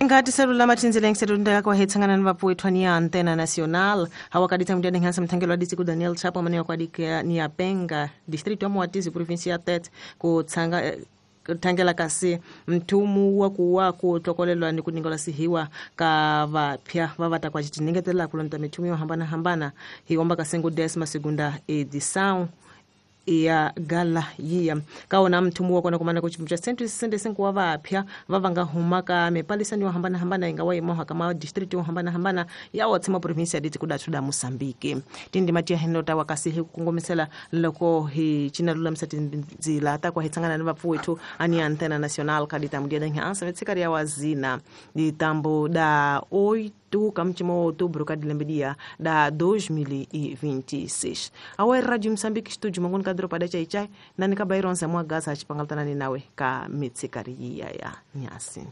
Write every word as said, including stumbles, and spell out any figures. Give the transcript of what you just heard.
Ngati selula mathinzela ngiselunda kwa hetsangana ni vapfuwethwa ni ya Antena Nacional hawakadita mdiani nhansa mthangelo aditsi ku Daniel Chapo manewa kwa ni ya Penga distrito ya Moatize provinsia ya Tete kutsanga eh, thangela kasi mthumu wa kuwa ku tlokolelwa ni ku ningola sihiwa ka vapya va va ta kwa xitinengetela ku lonta mithumu yo hambanahambana hi omba ka sengo décima segunda edição ya gala yiya ka wona mthumu wa kona kumana ku chimu cha cento e sessenta e cinco wa vapya va va nga huma ka mipalisani yo hambanahambana yi nga wa yimoha ka ma district yo hambanahambana ya wa tshama province ya diti kudathu da Moçambique tindima tiya hino ta wa kasi hi ku kongomisela loko hi cina lulamisa tindzila ta kwa hi tsangana ni vapfuwethu ani Antena Nacional ka ditambu dia danhansa vetsikari ya wazina ditambu da oito kamchimo outubro ka dilembe da dois mil e vinte e seis. Awa Radio Moçambique estúdio mangoni ka dropa da chai chai nani ka baironza mwa gaza achipangaltana ni nawe ka mitsikari ya ya nyasi.